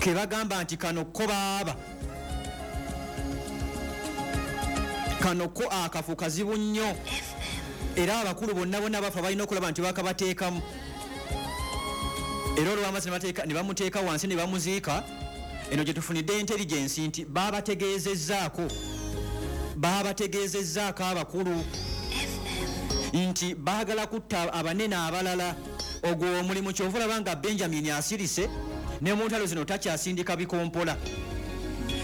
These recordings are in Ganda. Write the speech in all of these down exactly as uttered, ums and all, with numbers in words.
Ke bagamba nti kano ko baaba, kano ko akafu kazibu nnyo, era abakulu bonna bonna bafa balina okulaba nti bakabateekamu. Era olw'amazzi ne bamuteeka wansi ne bamuziika. Eno gye tufunidde intelligence nti babategeezezzaako babategeezezzaako abakulu nti baagala kutta abanene abalala. Ogwo omulimu kyova olaba nga Benjamin asirise ne mu ntalo zino takyasindika bikompola.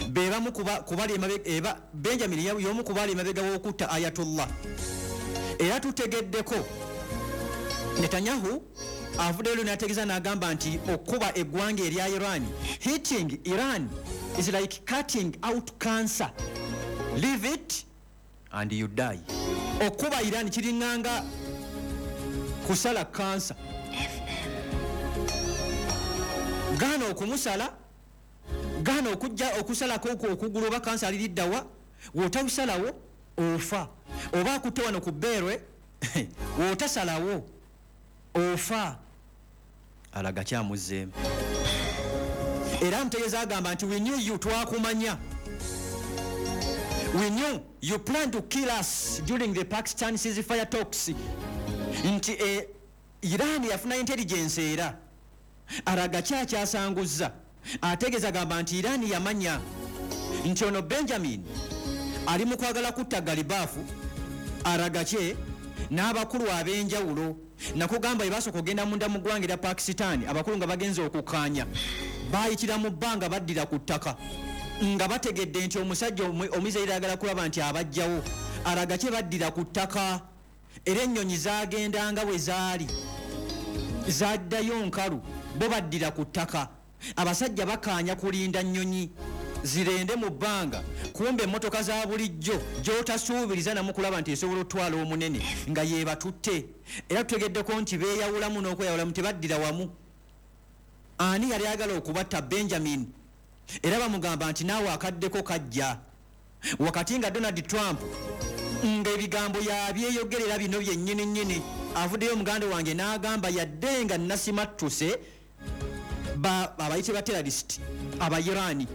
Be bamu kubali emabega, Benjamin y'omu ku bali emabega w'okutta Ayatollah. Era tutegeddeko Netanyahu avuddeyo n'ategeeza n'agamba nti okuba eggwanga erya Iran, hitting Iran is like cutting out cancer, leave it and you die. Okuba Iran kiringanga kusala kansa, gaana okumusala, gaana okujja okusalako okugulu oba kansa aliriddawa, w'otabusalawo ofa, oba akutte wano ku bbeerwe w'otasalawo ofa. Alaga kyamuzzeemu era amutegeeza agamba nti we knew you, twakumanya, we knew you plan to kill us during the Pakistan ceasefire talks. Nti e, Iran yafuna intelligence era araga kyakyasanguzza ategeeza agamba nti Iran yamanya nti ono Benjamin ali mu kwagala kutta Galibafu, Aragache n'abakulu ab'enjawulo. Nakugamba ebasooka okugenda munda mu ggwanga erya Pakistan, abakulu nga bagenze okukkaanya baayitira mu bbanga baddira ku ttaka nga bategedde nti omusajja Omuisiraeri ayagala kulaba nti abajjawo. Aragache baddira ku ttaka era ennyonyi zaagendanga bwe zaali zaddayo nkalu, bo baddira ku ttaka. Abasajja bakaanya kulinda nnyonyi zirende mu bbanga, kumbe emmotoka za bulijjo gy'otasuubiriza namu kulaba nti esobola otwala omunene nga yeebatutte. Era tutegeddeko nti beeyawulamu n'okweyawulamu, tebaddira wamu. Ani yali ayagala okubatta? Benjamin. Era bamugamba nti naawe akaddeko kajja. Wakati nga Donald Trump ng'ebigambo yabyeyogerera bino byennyini nnyini, avuddeyo muganda wange n'agamba yadde nga nasimattuse abayite ba terrorist aba Irani,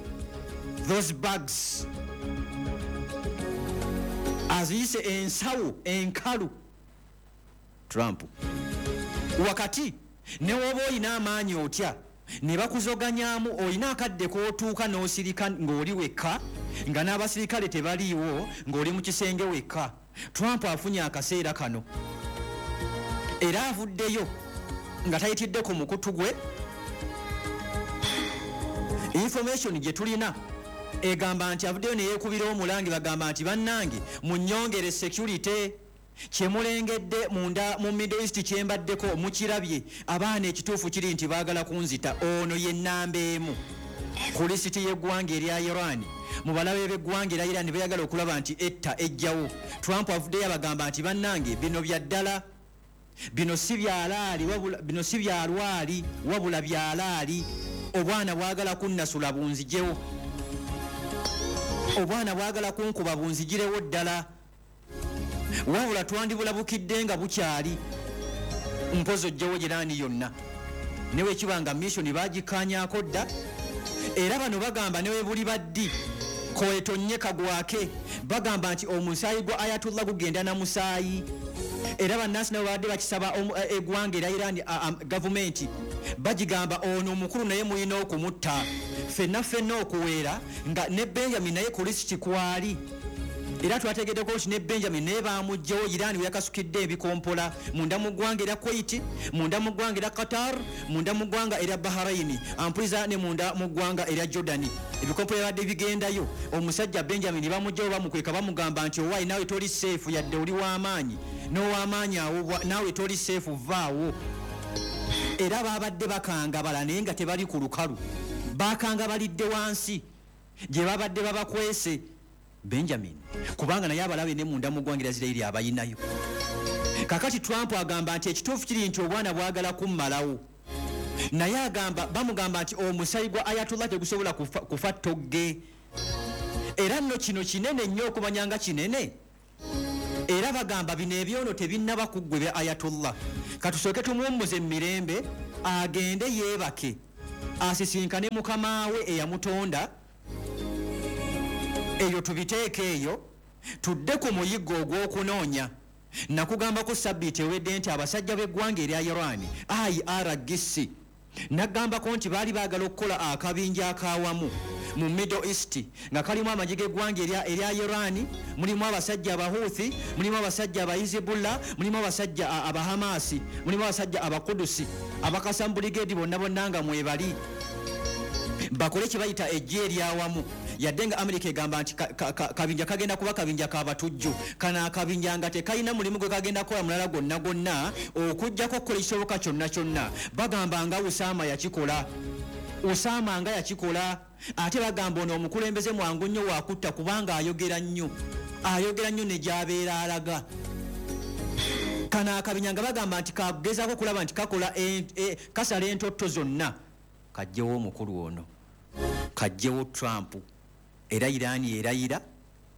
those bugs aziyise ensawo enkalu Trump. Wakati ne woba oyina amaanyi otya ne bakuzoganyaamu, oyina akadde k'otuuka n'osirika ng'oli wekka, nga n'abasirikale tebaliiwo, ng'oli mu kisenge wekka. Trump afunye akaseera kano era avuddeyo nga tayitidde ku mukutu gwe. Information gye tulina egamba nti avuddeyo ne yeekubira omulangi, bagamba nti bannange munnyongere security, kyemulengedde munda mu Middle East kyembaddeko mukirabye, abaana ekituufu kiri nti baagala kunzita. Ono ye nnamba emu ku lisiti y'eggwanga erya Iran. Mu balabe b'eggwanga erya Iran beeyagala okulaba nti etta ejjawo. Trump avuddeyo abagamba nti bannange bino bya ddala, bino si byalaali wabula, bino si byalwali wabula byalaali. Obwana bwagala kunnasula bunzijewo, obwana bwagala kunkuba bunzigirewo ddala, wabula twandibulabukidde nga bukyali mpozi ojjewo Irani yonna. Ne bwe kiba nga mission bagikkaanyaako dda, era bano bagamba ne bwe buli baddi koetonye kagwake, bagamba nti omusaayi gwa Ayatollah gugenda na musaayi. Era bannansi nabo babadde bakisaba eggwanga erya Iran gavumenti bagigamba ono omukulu naye mulina okumutta, ffenna ffenna okuweera nga ne Benjamin naye ku lisiti kwali. Era twategeddeko nti ne Benjamin naye bamuggyewo Iran we yakasukidde ebikompola munda mu ggwanga erya Kuwait, munda mu ggwanga erya Qatar, munda mu ggwanga erya Bahrain, ampuliza ne munda mu ggwanga erya Jordan. Ebikompola byabadde bigendayo, omusajja Benjamin bamuggyewo bamukweka, bamugamba nti owaayi naawe toli seefu, yadde oli w'amaanyi n'ow'amaanyi awo naawe toli seefu, vaawo. Era babadde bakangabala naye nga tebali ku lukalu, bakangabalidde wansi gye babadde babakwese Benjamin, kubanga naye abalabe ne munda mu ggwanga erya Isiraeri abayinayo. Kakati Trump agamba nti ekituufu kiri nti obwana bwagala kummalawo, naye agamba bamugamba nti omusaayi gwa Ayatollah tegusobola kufa, kufa ttogge. Era nno kino kinene nnyo okumanya nga kinene. Era bagamba bino ebyono tebinnaba kuggwa ebya Ayatollah, katusooke tumuwummuze mu mirembe agende yeebake. Asisinkane mukama we eyamutonda. Eyo tubiteeke eyo, tudde ku muyiggo ogw'okunoonya. Nakugambako sabbiiti ewedde nti abasajja b'eggwanga erya Iran, I R G C, nagambako nti baali baagala okukola akabinja akawamu mu Middle East nga kalimu amagye g'eggwanga erya Iran, mulimu abasajja Abahuthi, mulimu abasajja Abahizibullah, mulimu abasajja Abahamasi, mulimu abasajja Abakudusi, Abakasamu Brigade bonna bonna nga mwebali, bakole kye bayita eggye eryawamu. Yadde nga Amerika egamba nti kabinja kagenda kuba kabinja k'abatujju, kano akabinja nga tekalina mulimu gwe kagenda kukola mulala gwonna gwonna okuggyako okukola ekisoboka kyonna kyonna. Bagamba nga Usama yakikola, Usama nga yakikola. Ate bagamba ono omukulembeze mwangu nnyo wakutta kubanga ayogera nnyo, ayogera nnyo ne gy'abeera alaga. Kano akabinja nga bagamba nti kagezaako okulaba nti kakola kasala entotto zonna, kajjewo omukulu ono, kajjewo Trump. Era Iran erayira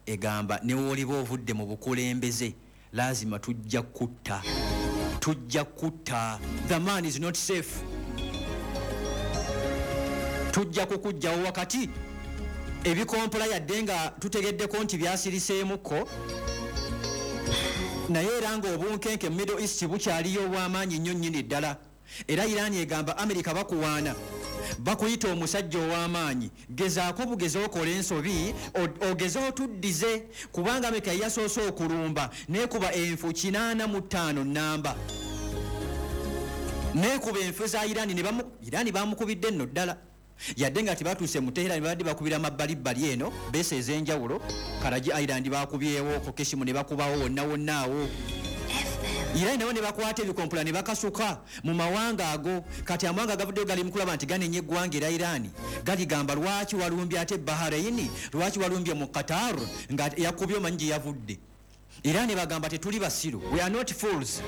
egamba ne w'oliba ovudde mu bukulembeze lazima tujja kutta, tujja kutta. The man is not safe, tujja kukujjawo. Wakati ebikompola yadde nga tutegeddeko nti byasiriseemukko, naye era ng'obunkenke mu Middle East bukyaliyo obw'amaanyi nnyo nnyini ddala. Era Iran egamba Amerika bakuwaana, bakuyita omusajja ow'amaanyi, gezaako bugeze okola ensobi, ogeze otuddize, kubanga Amerika yasoose okulumba n'ekuba enfu kinaana mu ttaano nnamba, n'ekuba enfu za Iran. Iran bamukubidde nno ddala, yadde nga tebatuuse mu Tehran, babadde bakubira amabbalibbali eno beese ez'enjawulo. Karaji Island bakubyewo, Kokeshimu ne bakubawo, wonna wonna awo. Iran nabo ne bakwata ebikompola ne bakasuka mu mawanga ago. Kati amawanga gavuddeyo gali mu kulaba nti ganenya eggwanga erya Iran, galigamba lwaki walumbye ate Bahrain, lwaki walumbye mu Qatar nga yakubye omanyi gye yavudde. Iran bagamba tetuli basiru, we are not fools.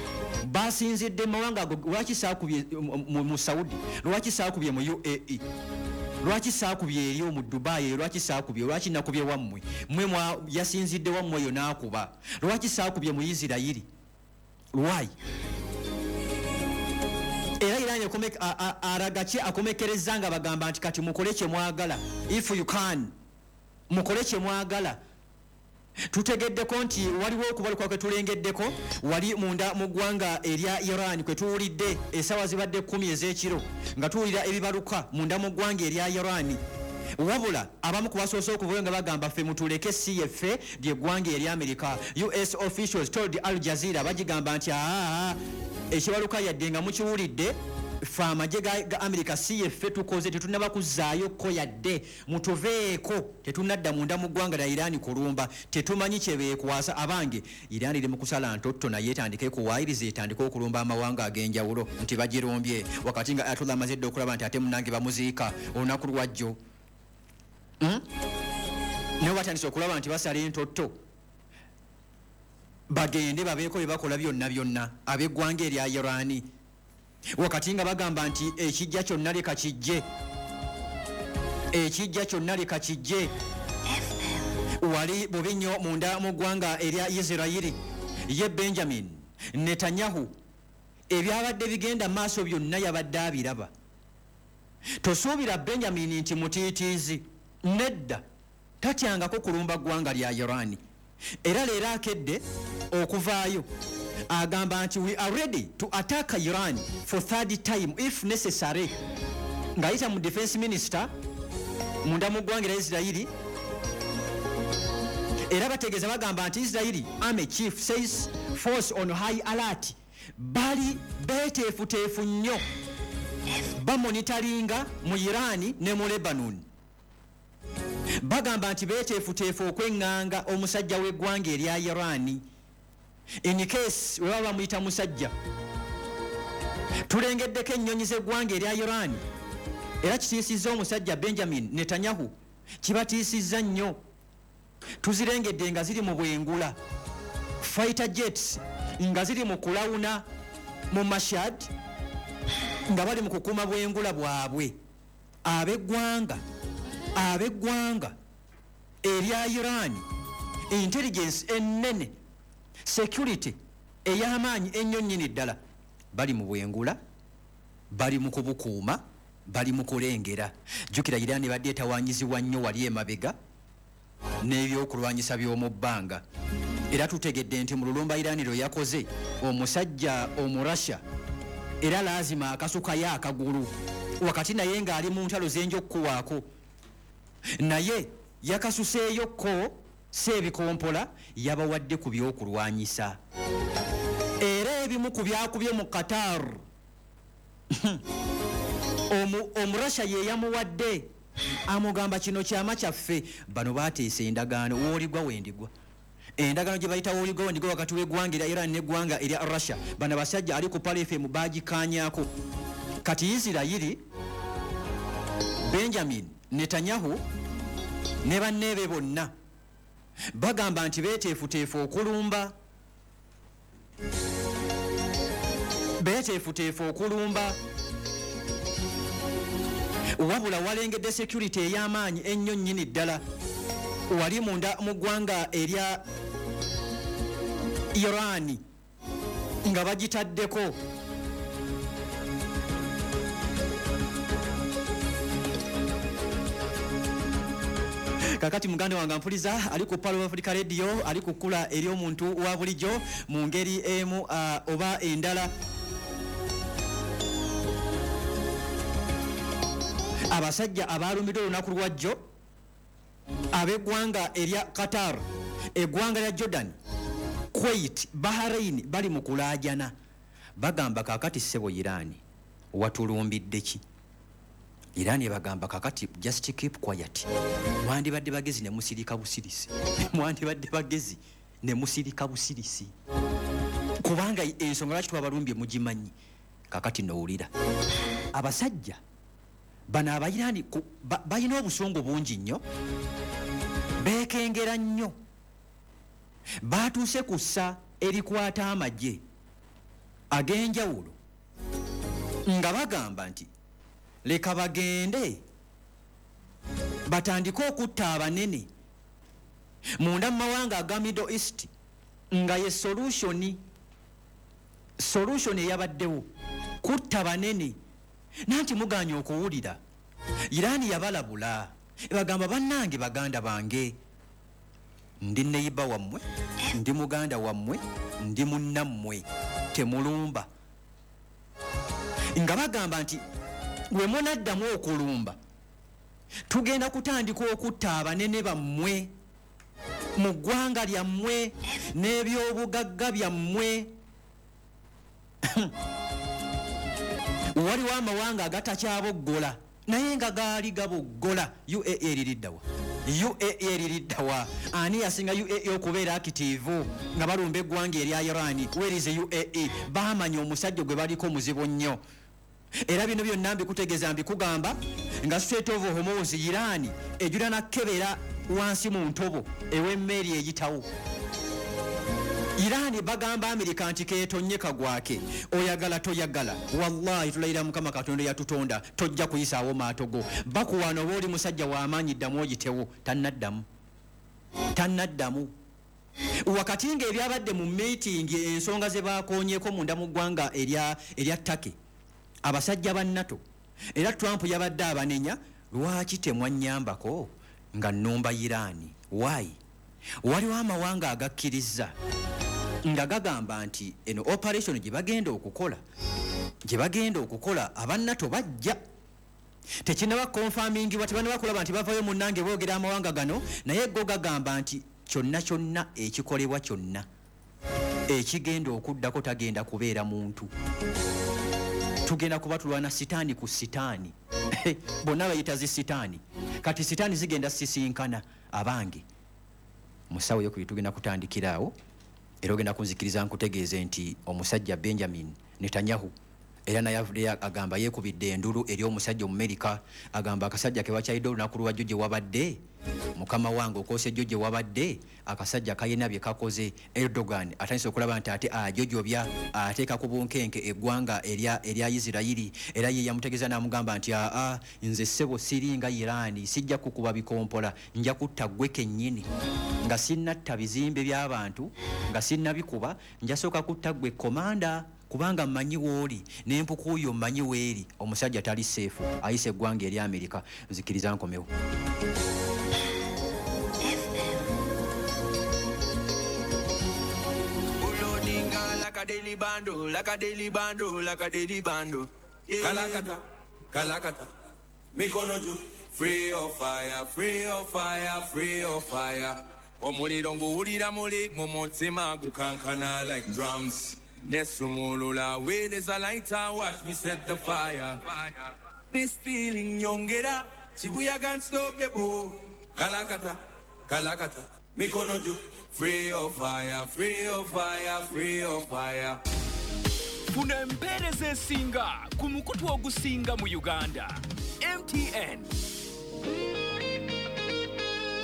Basinzidde mu mawanga ago, lwaki saakubye mu Saudi, lwaki saakubye mu U A E, lwaki saakubye eriyo mu Dubai, lwaki saakubye, lwaki nakubye wammwe, mmwe yasinzidde wammwe eyo n'akuba, lwaki saakubye mu Isirayiri, why? Era Iran aragache akomekereza nga bagamba nti kati mukole kye mwagala, if you can, mukole kye mwagala. Tutegeddeko nti waliwo okubaluka kwe tulengeddeko wali munda mu ggwanga erya Iran kwe tuwulidde essaawa zibadde kkumi ez'ekiro nga tuwulira ebibaluka munda mu ggwanga erya Iran. Wabula abamu ku basoose okuvayo nga bagamba ffe mutuleke si yeffe ly'eggwanga erya Amerika. U S officials told Al Jazeera, bagigamba nti aa ekibaluka yadde nga mukiwulidde, ffe amagye ga Amerika si yeffe tukoze, tetunnaba kuzzaayo ko yadde, mutuveeko, tetunnadda munda mu ggwanga lya Iran kulumba, tetumanyi kye beekwasa. Abange, Iran eri mu kusala ntotto naye etandike kuwaayiriza, etandike okulumba amawanga ag'enjawulo nti bagirumbye, wakati nga Ayatollah amaze dda okulaba nti ate munnange bamuziika olunaku lwajjo. Naye batandise okulaba nti basala entotto, bagende babeeko bye bakola byonna byonna ab'eggwanga erya Iran, wakati nga bagamba nti ekijja kyonna leka kijje, ekijja kyonna leka kijje. Wali bubi nnyo munda mu ggwanga erya Isirayiri. Ye Benjamin Netanyahu ebyabadde bigenda maaso byonna yabadde abiraba. Tosuubira Benjamin nti mutiitiizi, nedda, tatyangako kulumba ggwanga lya Iran. Era leero akedde okuvaayo agamba nti we are ready to attack Iran for third time if necessary, ng'ayita mu defense minister munda mu ggwanga erya Isirayiri. Era bategeeza bagamba nti Israeli army chief says force on high alert, bali beeteefuteefu nnyo, bamonitaringa mu Iran ne mu Lebanon. Bagamba nti beeteefuteefu okweŋŋanga omusajja w'eggwanga erya Iran in case we baba bamuyita musajja. Tulengeddeko ennyonyi z'eggwanga erya Iran, era kitiisizza omusajja Benjamin Netanyahu, kibatiisizza nnyo. Tuzirengedde nga ziri mu bwengula, fighter jets nga ziri mu kulawuna mu Mashhad, nga bali mu kukuuma bwengula bwabwe. Ab'eggwanga ab'eggwanga erya Iran, intelligence ennene, security ey'amaanyi ennyo nnyini ddala, bali mu bwengula, bali mu kubukuuma. bali mu kulengera. Jjukira Iran badde etawanyizibwa nnyo wali emabega n'ebyokulwanyisa by'omu bbanga. Era tutegedde nti mu lulumba Iran lwe yakoze omusajja Omurasha era laazima akasukayo akagulu wakati naye ng'ali mu ntalo zenja okukuwaako, naye yakasuseeyokko si ebikompola, yabawadde ku byokulwanyisa. Era ebimu ku byakubye mu Qatar Omurasha ye yamuwadde, amugamba kino kyama kyaffe. Bano bateesa endagaano wooligwa wendigwa, endagaano gye bayita wooligwa wendigwa wakati w'eggwanga erya Iran n'eggwanga erya Russia. Bano abasajja ali ku Pal F M baagikaanyaako. Kati Isirayiri, Benjamin Netanyahu ne banneebe bonna bagamba nti beeteefuteefu okulumba, beeteefuteefu okulumba. Wabula walengedde security ey'amaanyi ennyo nnyini ddala wali munda mu ggwanga erya Iran nga bagitaddeko. Kakati muganda wange mpuliza ali ku Palo Africa Radio, ali ku kkula eri omuntu wa bulijjo mu ngeri emu uh, oba endala. Abasajja abalumiddwa olunaku lwajjo ab'eggwanga erya Qatar, eggwanga lya Jordan, Kuwait, Bahrain bali mu kulaajana. Bagamba kakati ssebo Iran watulumbidde ki? Iran ebagamba kakati just keep quiet. Mwandibadde bagezi ne musirika busirisi. Mwandibadde bagezi ne musirika busirisi, kubanga ensonga lwaki twabalumbye mugimanyi. Kakati nowulira abasajja bano Abayirani balina obusungu bungi nnyo, beekengera nnyo, batuuse ku ssa erikwata amagye ag'enjawulo nga bagamba nti leka bagende batandike okutta abanene munda mu mawanga aga Middle East, nga ye solution solution eyabaddewo kutta banene. Nanti muganye okuwulira Iran yabalabula, ebagamba bannange baganda bange, ndi neyiba wammwe, ndi muganda wammwe, ndi munnammwe, temulumba. Nga bagamba nti we munaddamu okulumba tugenda kutandika okutta abanene bammwe mu ggwanga lyammwe n'ebyobugagga byammwe. Waliwo amawanga agatakyaboggola naye nga gaali gaboggola. U A E eririddawa? U A E eririddawa? Ani yasinga U A E okubeera active nga balumba eggwanga erya Iran? Where is U A E? Baamanya omusajja gwe baliko muzibu nnyo. Era bino byonna mbikutegeeza, mbikugamba nga Strait of Hormuz Iran ejula nakebera wansi mu ntobo ew'emmeri eyitawo. Iran bagamba Amerika nti keetonye kagwake, oyagala toyagala, wallahi tulayira Mukama Katonda yatutonda tojja kuyisaawo maato go. Bakuwaana oba oli musajja w'amaanyi ddamu oyitewo. Tannaddamu, tannaddamu. Wakati ng'ebyabadde mu meeting ensonga ze baakoonyeeko munda mu ggwanga erya erya Turkey, abasajja ba NATO era Trump yabadde abanenya, lwaki temwannyambako nga nnumba Iran? Why? Waliwo amawanga agakkiriza nga gagamba nti eno operation gye bagenda okukola gye bagenda okukola aba NATO bajja. Tekinnaba confirmingibwa, tebannaba kulaba nti bavayo munnange boogera amawanga gano, naye go gagamba nti kyonna kyonna ekikolebwa kyonna ekigenda okuddako tagenda kubeera muntu, tugenda kuba tulwana sitaani ku sitaani. Bonna bayita zi sitaani, kati sitaani zigenda sisinkana. Abange musawo yokubiri tugenda kutandikira awo, era ogenda kunzikiriza nkutegeeze nti omusajja Benjamin Netanyahu era naye avuddeyo agamba yeekubidde endulu eri omusajja Omumerika, agamba akasajja ke bakyayidde olunaku lwajjo gye wabadde, mukama wange okoosa ejjo gye wabadde, akasajja kalina bye kakoze. Erdogan atandise okulaba nti ate ajojobya ateeka ku bunkenke eggwanga erya erya Isirayiri. Era ye yamutegeeza n'amugamba nti aa nze ssebo siringa Iran, sijja kukuba bikompola, nja kutta ggwe kennyini, nga sinnatta bizimbe by'abantu, nga sinnabikuba, njasooka kutta ggwe komanda Kubanga mmanyi w'oli n'empuku yo mmanyi weeri. Omusajja tali safe, ayise eggwanga eri Amerika. Nzikiriza nkomewo. Like a daily bando, like a daily bando, like a daily bando. Yeah. Kalakata, kalakata, mikono juu. Free of fire, free of fire, free of fire. Omuliro nguwulira muli mu mutima gukankana like drums. Nesumulula with is a lighter, watch me set the fire. This feeling nyongera, chibuya can't stop the boo. Kalakata, kalakata, mikono juu. Free of fire, free of fire, free of fire. Funa empeereza esinga ku mukutu ogusinga mu Uganda. M T N.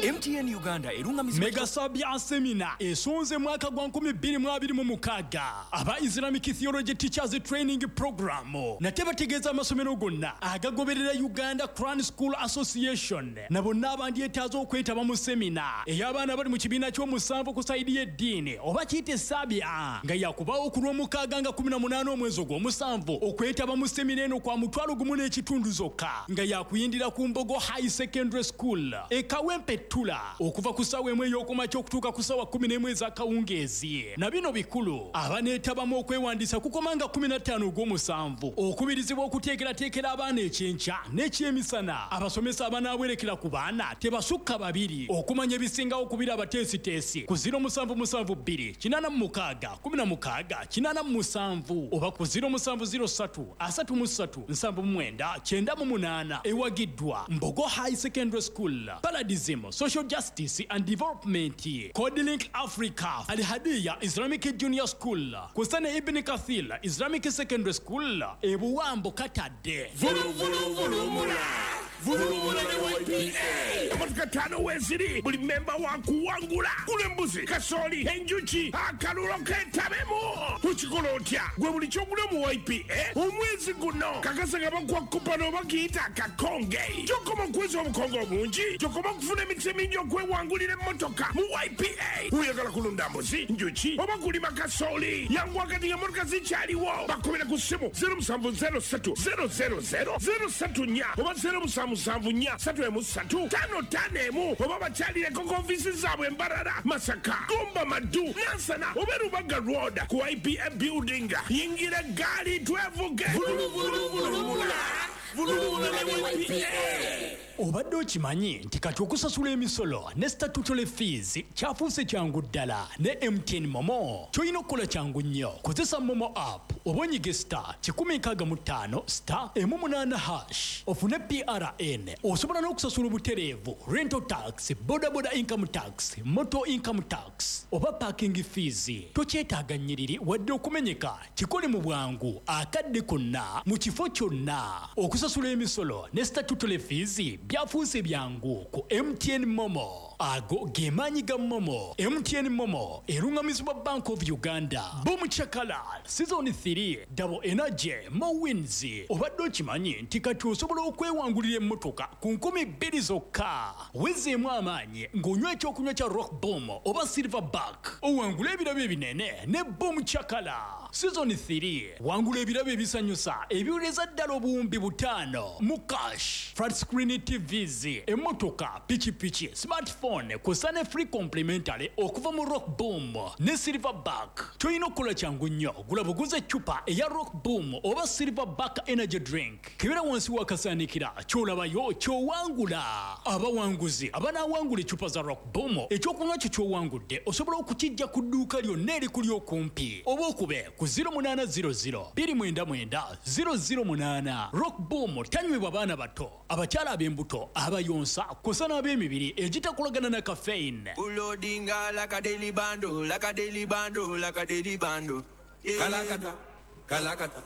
M T N Uganda erungamizibwa Mega Sabia Seminar esonze mwaka gwa nkumi bbiri mu abiri mu mukaaga aba Islamic Theology Teachers Training Program nate bategeeza amasomero gonna agagoberera Uganda Quran School Association na bonna abandyetaaza okwetaba mu seminar ey'abaana bali mu kibiina ky'omusanvu ku sayidi y'eddiini oba kiyite Sabia nga yakubaawo ku lw'omukaaga nga kumi na munaana omwezi ogw'omusanvu okwetaba mu seminar eno kwa mutwalo gumu n'ekitundu zokka nga yakuyindira ku Mbogo High Secondary School e Kawempe Tula okuva ku ssaawa emu ey'okumakya okutuuka ku ssaawa kkumi n'emu ez'akawungeezi. Na bino bikulu abaneetabamu okwewandiisa kukomanga kkumi na ttaano ogw'omusanvu okubirizibwa okuteekerateekera abaana ekyenkya n'ekyemisana. Abasomesa abanaawerekera ku baana tebasukka babiri. Okumanya ebisingawo kubira abateesiteesi ku ziro musanvu musanvu bbiri kinaana mu mukaaga kkumi na mukaaga kinaana mu musanvu oba ku ziro musanvu ziro ssatu asatu mu ssatu nsanvu mu mwenda kyenda mu munaana. Ewagiddwa Mbogo High Secondary School, Paradism, Social Justice and Development, Codelink Africa, Al Hadiya Islamic Junior School, Kusane Ibn Kathir Islamic Secondary School, Ebuwambo Katadde. Vulu vulu vulu mula. Vulu vulu ne Y P A. Emotoka ttaano weeziri buli memba wa kuwangula. Gula embuzi, kasooli, enjuki, akalulo keetabemu. Okikola otya? Gwe buli ky'ogula mu Y P A omwezi guno kakasa nga bakuwa kupano oba kiyita akakonge. Gy'okoma okweza obukonge obungi, gy'okoma okufuna emikisa emingi okwewangulira emmotoka mu Y P A. Oyagala kulunda mbuzi, njuki oba kulima kasooli, yanguwa kati ng'emmotoka zikyaliwo. Bakubira ku ssimu zero musanvu zero ssatu zero zero zero zero ssatu nnya oba zero musanvu musanvu nnya ssatu emu ssatu ttaano ttaano emu oba bakyalireko ku ofiisi zaabwe Mbarara, Masaka, Gomba, Maddu, Nansana oba Rubaga Road ku Y P A building. Yingira eggaali twevuge. Vulu vulu vulu mula. Vulu vulu ne Y P A. Obadde okimanyi nti kati okusasula emisolo ne statutory fees kyafuuse kyangu ddala ne M T N Momo. Ky'olina okukola kyangu nnyo, kozesa Momo app oba onyige star kikumi nkaaga mu ttaano star emu munaana hash ofune P R N. Osobola n'okusasula obutereevu rental tax, bodaboda income tax, motor income tax oba parking fees. Tokyetaaga nnyiriri wadde okumenyeka, kikole mu bwangu akadde konna mu kifo kyonna. Okusasula emisolo ne statutory fees byafuuse byangu ku M T N Momo. Ago ge maanyi ga Momo. M T N Momo erungamizibwa Bank of Uganda. Boom Chakala Season three Double Energy Mo Wins. Obadde okimanyi nti kati osobola okwewangulira emmotoka ku nkumi bbiri zokka. Wezeemu amaanyi ng'onywa ekyokunywa kya Rock Boom oba Silverback. Owangula ebirabo ebinene ne Boom Chakala Season three. Wangula ebirabo ebisanyusa ebiwereza ddala obuwumbi butaano mu cash, flat screen T Vs, emmotoka, pikipiki, smartphone kw'ossa ne free complimentary okuva mu Rock Boom ne Silverback. Ky'olina okukola kyangu nnyo, gula buguze eccupa eya Rock Boom oba Silverback Energy Drink. Kebera wansi w'akasaanikira ky'olabayo ky'owangula. Abawanguzi abanaawangula eccupa za Rock Boom, ekyokunywa kyo ky'owangudde osobola okukijja ku dduuka lyonna erikuli okumpi oba okube ku ziro munaana ziro ziro bbiri mwenda mwenda ziro ziro munaana. Rock Boom tanywebwa baana bato, abakyala ab'embuto, abayonsa kw'ossa n'ab'emibiri egitakolagana na caffeine. Ulodinga like a daily bando, like a daily bando, like a daily bando. Yeah. Kalakata, kalakata,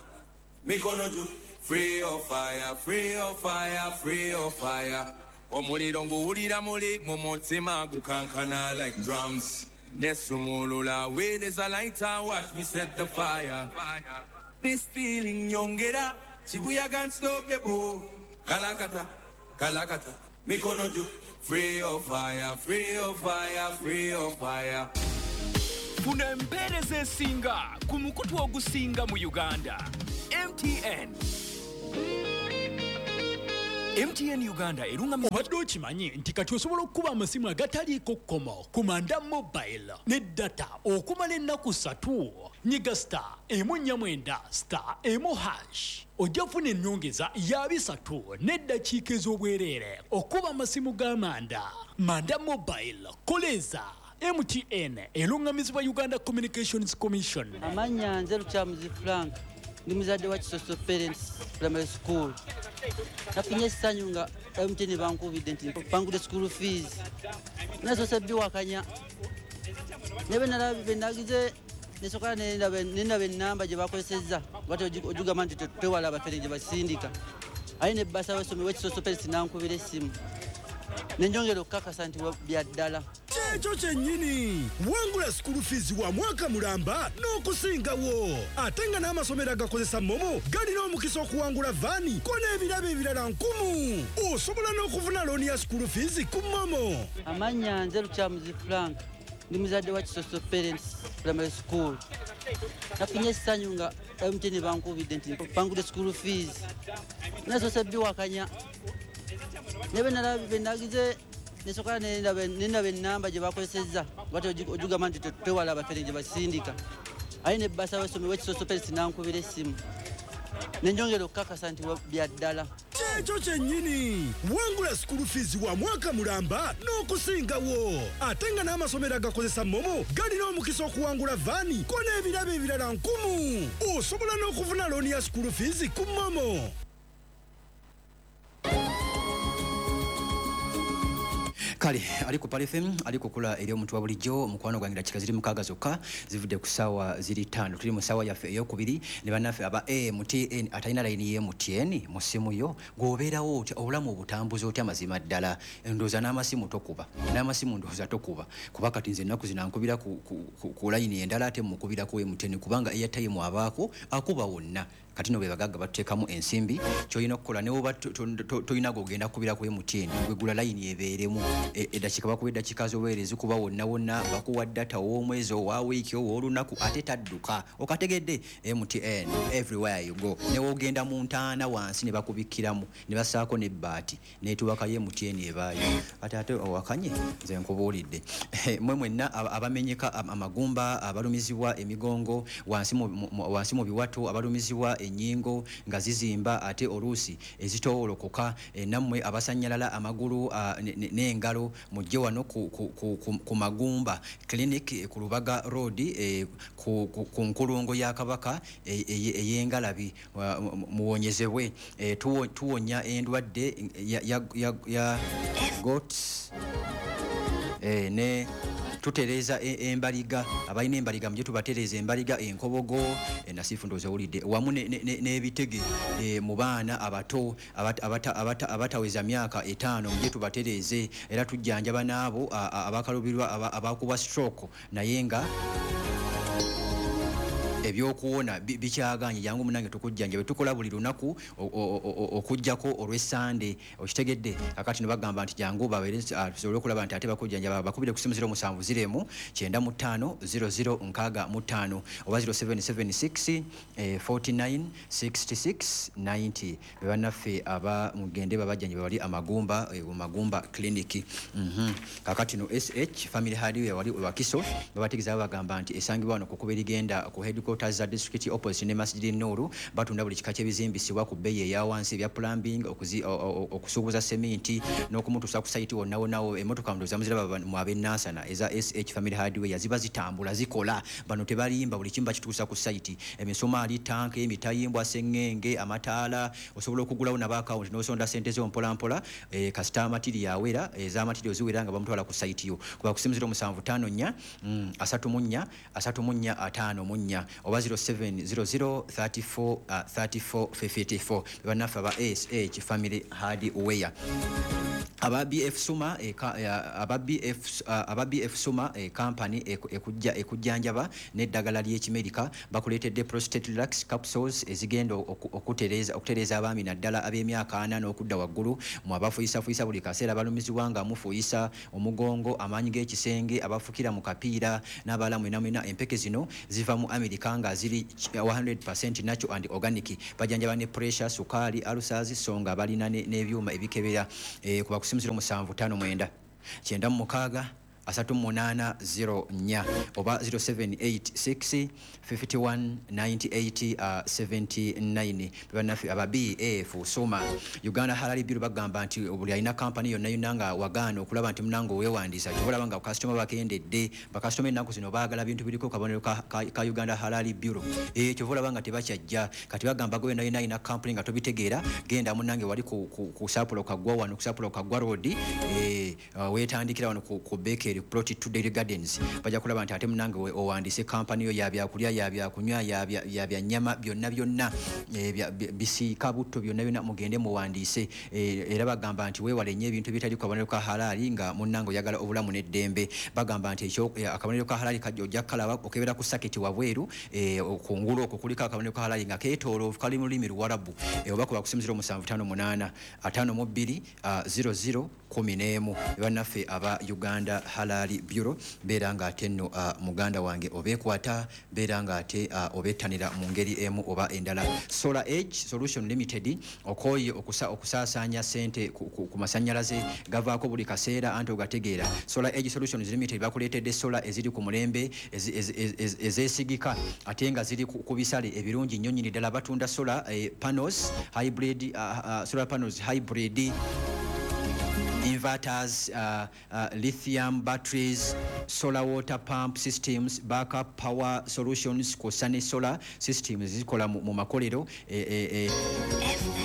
mikono juu. Free of fire, free of fire, free of fire. Omuliro nguwulira muli mu mutima gukankana like drums. Nesumulula with is a lighter, watch me set the fire. This feeling nyongera, chibuya can't stop the boo. Kalakata, kalakata, mikono juu. Free of fire, free of fire, free of fire. Funa empeereza esinga ku mukutu ogusinga mu Uganda. M T N. M T N Uganda erunga. Obadde okimanyi nti kati osobola okukuba amasimu agataliiko kkomo ku Manda Mobile ne data okumala ennaku ssatu. Nyiga star emu nnya mwenda star emu hash ojja kufuna ennyongeza ya bisatu n'eddakiika ez'obwereere okuba amasimu ga Manda. Manda Mobile koleza. M T N erungamizibwa Uganda Communications Commission. Amannya nze Lukyamuzi Frank, ndi muzadde wa Kisoso Parents Primary School. Nafunye essanyu nga M T N bankubidde nti bangudde school fees. Nasoose biwakanya. Ne bwe nalabye bwe nagize nesooka nendaba ennamba gye bakozesezza bati ogigamba nti tewala abafere gye basindika. Aye ne bbasa w'essomero w'Ekisoso Parents n'ankubira essimu. Ne njongera okukakasa nti bya ddala. Kyekyo kyennyini, wangula school fees wa mwaka mulamba n'okusingawo. Ate nga n'amasomero agakozesa MoMo galina omukisa okuwangula vaani ko n'ebirabo ebirala nkumu. Osobola n'okufuna looni ya school fees ku MoMo. Amannya nze Lukyamuzi Frank, ndi muzadde wa Kisoso Parents Primary School. Nafunye essanyu nga M T N bankubidde nti bangudde school fees. Nasoose biwakanya. Ne bwe nalabye bwe nagize nesooka nendaba ennamba gye bakozesezza bati ogigamba nti tewala abafere gye basindika. Aye ne bbasa w'essomero w'Ekisoso Parents n'ankubira essimu. Ne njongera okukakasa nti bya ddala. Kyekyo kyennyini, wangula school fees wa mwaka mulamba n'okusingawo. Ate nga n'amasomero agakozesa MoMo galina omukisa okuwangula vaani ko n'ebirabo ebirala nkumu. Osobola n'okufuna looni ya school fees ku MoMo. Kale ali ku Pal F M ali kukula eri omuntu wa bulijjo mukwano gwange dakika ziri mukaaga zokka zivudde ku ssaawa ziri ttaano. Tuli mu ssaawa yaffe eyokubiri ne bannaffe aba M T N atalina layini ye M T N mu ssimu yo gw'obeerawo otya obulamu obutambuza otya mazima ddala. Ndowooza n'amasimu tokuba n'amasimu ndowooza tokuba kuba kati nze ennaku zino ankubira ku, ku, ku, ku layini endala ate mukubira ku M T N kubanga airtime abaako akuba wonna. Kati no bwe bagagga batuteekamu ensimbi ky'olina okukola ne woba tolina g'ogenda kukubira ku M T N gwegula layini ebeeremu eddakiika bakuwa eddakiika z'obuweereza kuba wonna wonna bakuwa data ow'omwezi owa wiiki ow'olunaku ate tadduka. Okategedde M T N everywhere you go. Ne w'ogenda mu ntaana wansi ne bakubikkiramu ne bassaako n'ebbaati n'etuwakayo M T N ebaayo. Ate ate owakanye nze nkubuulidde. Mmwe mwenna abamenyeka amagumba, abalumizibwa emigongo wansi mu biwato, abalumizibwa ennyingo nga zizimba ate oluusi ezitoowolokoka, nammwe abasannyalala amagulu n'engalo mujje wano ku, ku, ku, ku, ku Magumba Clinic ku Lubaga Road e, ku, ku, ku nkulungo ya Kabaka ey'engalabi e, muwonyezebwe. E, tuwonya endwadde ya, ya, ya, ya goats e, ne tutereeza embaliga, abalina embaliga mujje tubatereeza embaliga, enkobogo, nasifu ndowooza owulidde, wamu n'ebitege mu baana abato abataweza myaka etaano mujje tubatereeze. Era tujjanjaba n'abo abakalubirwa abakuba stroke naye nga ebyokuwona bikyaganye, jangu munange tukujjanjabe. Tukola buli lunaku okujjako olw'Essande, okitegedde. Kakati no bagamba nti jangu babeere tusobole okulaba nti ate bakujjanjaba. Bakubire ku simu zero musanvu zero emu kyenda mu ttaano zero zero nkaaga mu ttaano oba zero seven seven six forty-nine sixty-six ninety. Be bannaffe aba mugende babajjanjabe bali Amagumba, Magumba Clinic. Kakati no S H Family Hardware wali Wakiso babategeeza bagamba nti esangibwa wano ku kkubo erigenda ku headquarters za district opposite ne Masjid Nuru. Batunda buli kika ky'ebizimbisibwa ku bbeeyi eya wansi, ebya plumbing, okusuubuza seminti n'okumutuusa ku sayiti wonna wonna. Emmotoka ndowooza muziraba mu ab'e Nansana eza S H Family Hardware ziba zitambula zikola, bano tebalimba, buli kimu bakituusa ku sayiti. Emisumaali, tanka, emitayimbwa, sengenge, amataala, osobola okugulawo naba akawunti n'osonda ssente zo mpola mpola, e, kasita matiri awera ez'amatiri oziwera nga bamutwala ku sayiti yo. Kuba ku simu zero musanvu ttaano nnya asatu mu nnya asatu mu nnya ataano mu nnya oba zero seven zero zero thirty-four thirty-four fifty-four. Bannaffe aba S H Family Hardware. Aba B F Suma eka, aba B F, aba B F Suma e company ekujja ekujjanjaba n'eddagala ly'ekimerika bakuleetedde Prostate Relax capsules ezigenda okutereeza okutereeza abaami, naddala ab'emyaka ana n'okudda waggulu, mu abafuyisafuyiisa buli kaseera, balumizibwa nga mufuuyisa omugongo, amaanyi g'ekisenge, abafukira mu kapiira n'abalala mwena mwena. Empeke zino ziva mu Amerika nga ziri kikumi natural and organic. Bajanjaba ne pressure, sukaali, ulcers, so nga balina n'ebyuma ebikebera. eh, kuba kusimu zero musanvu ttaano mwenda kyenda mu mukaaga asatu mu munaana zero nnya oba zero seven eight six fifty-one ninety-eight uh, seventy-nine. Bannaffe aba B F Soma, Uganda Halal Bureau bagamba nti buli alina kampani yonna yonna nga wagaana okulaba nti munange oweewandiisa, kyobalaba nga kasitoma bakendedde. Bakasitoma ennaku zino baagala bintu biriko kabonero ka, ka, ka Uganda Halal Bureau. e, kyova olaba nga tebakyajja. Kati bagamba gwe yonna yonna alina kampani nga tobitegeera, genda munange wali ku, ku, ku Sapulo Kaggwa, wano ku Sapulo Kaggwa Road, e, uh, weetandikira wano ku, ku Bakery Plot two, Daily Gardens. Bajja kulaba nti ate munange owandiise kampani yo yabyakulya, yabyakunywa, yabyannyama, byonna byonna, eh, bisiika butto, byonna byonna, mugende muwandiise. eh, era bagamba nti weewale nnyo ebintu ebitali ku kabonero ka halaali nga munnange oyagala obulamu n'eddembe. Bagamba nti eh, akabonero ka halaali kajja ojja kukalaba okebera ku saketi wabweru, kungulu okwo kuliko akabonero ka halaali nga keetooloovu, kali mu lulimi Luwarabu. Oba kuba kusimu zero musanvu ttaano munaana ataano mu bbiri zero zero kkumi n'emu. Bannaffe aba Uganda Halal Bureau, beera nga ate nno uh, muganda wange obeekwata, beera nga ate uh, obettanira mu ngeri emu oba endala. Solar Age Solution Limited, okooye okusaasaanya sente ku, ku, ku masanyalaze gavaako buli kaseera, anti ogategeera. Solar Age Solutions Limited bakuleetedde solar eziri ku mulembe, ezeesigika, ate nga ziri ku, ku bisale ebirungi nnyo nnyini ddala. Batunda solar eh, panels hybrid, uh, uh, solar panels, hybrid inverters, uh, uh, lithium batteries, solar water pump systems, backup power solutions, kw'ossa ne solar systems zikola mu, mu makolero e, e, e,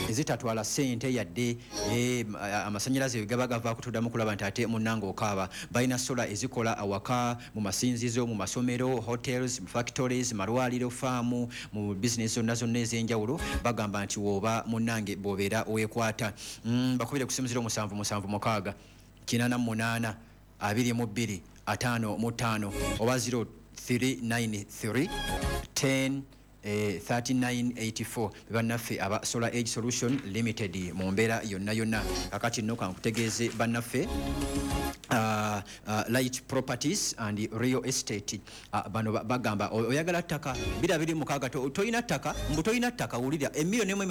ezitatwala ssente yadde. e, amasanyalaze gaba gavaako tuddamu kulaba nti ate munnange okaaba. Balina solar ezikola awaka, mu masinzizo, mu masomero, hotels, factories, malwaliro, faamu, mu bizinesi zonna zonna ez'enjawulo. Bagamba nti woba munnange bw'obeera weekwata, mm, bakubire ku simu zero musanvu musanvu mukaaga kinaana mu munaana abiri mu bbiri ataano mu ttaano oba zero three nine three ten eh, thirty-nine eighty-four. Bannaffe aba Solar Age Solution Limited mu mbeera yonna yonna. Kakati nno kankutegeeze bannaffe Uh, uh, Light Properties and Real Estate, uh, bano bagamba oyagala ttaka bira biri mukaaga, toyina ttaka, mbu toyina ttaka, wulira, emiliyoni emu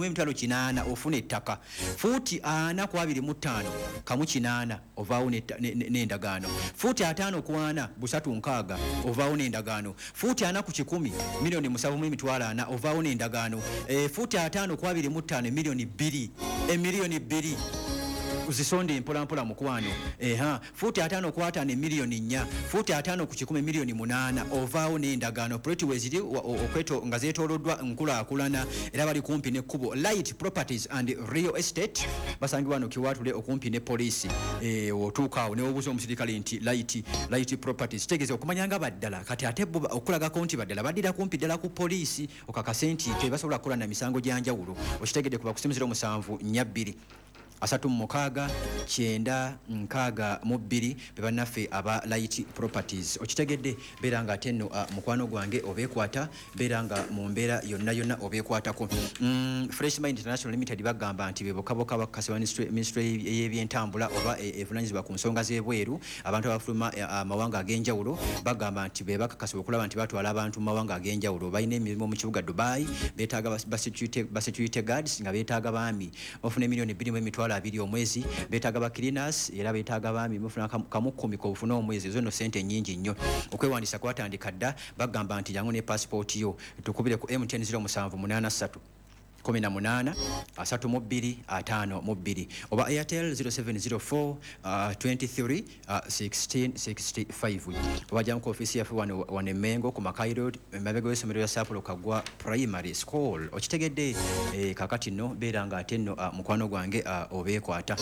emitwalo kinaana ofuna ettaka, fuuti ana ku abiri mu ttaano kamu kinaana, ovaawo n'endagaano, fuuti ataano ku ana busatu nkaaga, ovaawo n'endagaano, fuuti ana ku kikumi miliyoni musanvu mu emitwalo ana, ovaawo n'endagaano, e, fuuti ataano ku abiri mu ttaano emiliyoni bbiri, emiliyoni bbiri zisonde mpolampola mukwano. Eha, fuuti ataano ku ataano emiliyoni nnya, fuuti ataano ku kikumi miliyoni munaana, ovaawo n'endagaano. Ploti weziri okweto nga zeetooloddwa nkulaakulana, era bali kumpi n'ekkubo. Light Properties and Real Estate basangibwa wano Kiwaatule okumpi ne poliisi. e, otuuka awo newobuuza omusirikale nti light, Light Properties, kitegeeza okumanya nga baddala. Kati ate bo okulagako nti baddala, baddira kumpi ddala ku poliisi, okakase nti tebasobola kukola na misango gya njawulo. Okitegedde? Kuba ku simu zero musanvu nnya bbiri asatu mu mukaaga kyenda nkaaga mu bbiri, be bannaffe aba Light Properties. Okitegedde? Beera nga ate nno uh, mukwano gwange obeekwata, beera nga mu mbeera yonna yonna obeekwatako. mm, fresh Mind International Limited bagamba nti be bokaboka bakakasibwa ministry y'ebyentambula oba evunanyizibwa ku nsonga z'ebweru, abantu abafuluma amawanga ag'enjawulo. Bagamba nti be bakakasibwa okulaba nti batwala abantu mu mawanga ag'enjawulo. Balina emirimu mu kibuga Dubai, beetaaga ba security guards, nga beetaaga baami, bafuna emiliyoni bbiri mu emitwalo abiri omwezi. Beetaaga ba cleaners, era beetaaga baami, mufuna kamu kkumi kobufuna omwezi. Ezo nno sente nnyingi nnyo. Okwewandiisa kwatandika dda. Bagamba nti jangu ne passport yo, tukubire ku M T N zero musanvu munaana ssatu kumi na munaana asatu mu bbiri ataano mu bbiri oba Airtel zero seven zero four uh, twenty-three uh, sixteen sixty-five, oba jamu ku ofiisi yaffe wano wano e Mengo ku Makai Road, emabega w'essomero lya Sapulo Kaggwa Primary School. Okitegedde? eh, kakati nno beera nga ate nno uh, mukwano gwange uh, obeekwata.